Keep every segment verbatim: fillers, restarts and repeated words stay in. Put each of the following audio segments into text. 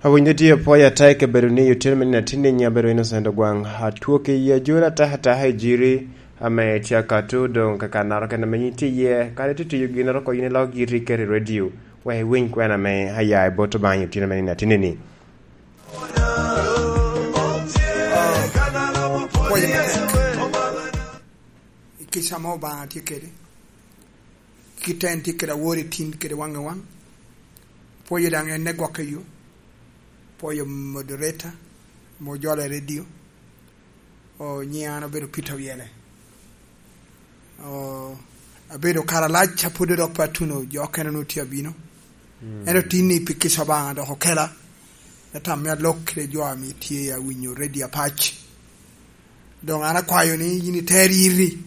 Awinyo tye apwoyo ata i kabedo ni otyeno me nino atinni, nyiŋ abedo Innocent Ogwaŋ. Atwoki i ajura atakataka i jiri ame tye akato, doŋ kakannaro kene ame yin tye iye, kadi tye tiyo ginnoro oko yin ilok yiti iketo i redio, wek iwiny kwena ame aya i bot Obaŋa i otyeno me nino atinni-ni. Pwoyo matek. I kica ame Obaŋa tye kede, kit en tye kede awor i tin kede waŋ i waŋ. Pwoyo daŋ en ne gwok i yo. Pwoyo moderator, mo jolo i redio. O, nyiŋa an obedo Peter Oyele. O, abedo kare alac, apwod dok pe atuno, jo okene onwoŋo tye abino. Mm. Ento tin-ni pi kica Obaŋa dok okela, me tam me alok kede jo ame tye awinyo redio apac. Doŋ an akwayo ni yin iter yiti,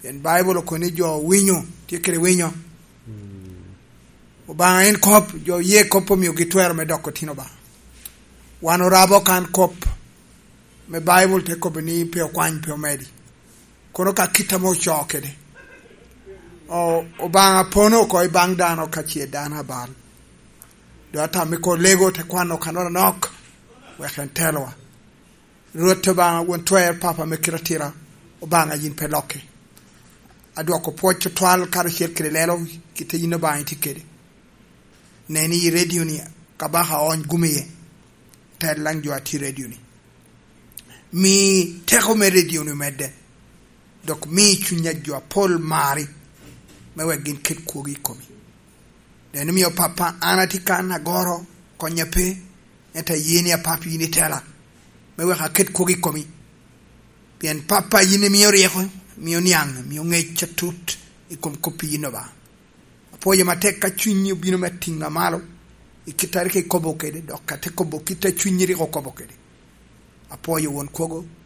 pien Baibul okobo ni jo winyo, tye kede winyo. Mm. Obaŋa en kop, jo oye kop omiogi twero me doko tin Obaŋa. Wan orabo kan kop me Baibul te kobo ni pe okwany, pe omedi. Kono ka kit ame ocoo kede. O-, Obaŋa pono oko i baŋ dano ka ce dano abal. Doŋ atam me ko lego te kwano kanoro anok, wek en telowa. Rwot Obaŋa, Won Twer, Papa me kite atira, Obaŋa yin pe lokke. Adwoko pwoc otwal karacel kede lelo, kite yin Obaŋa itye kede. Nen i redio-ni, kabaka oony gum iye, tel laŋ jo a tye i redio-ni. Mi teko me redio-ni omedde, dok mi cuny a jo apol mari, me wek gin ket kwogi i komi. Nen omio, Pappa, an atye kan agoro, konya pe, ento aye ni, Apap, yin itela, me wek aket kwogi i komi. Pien, Pappa, yin imio ryeko, imio niaŋ, imio ŋec atut i kom kop yin Obaŋa. Apwoyo matek ka cunyi obino me tiŋa malo, i kit a rik ikobo kede, dok ate kobo kit a cunyi rik okobo kede. Apwoyo Won Kwogo,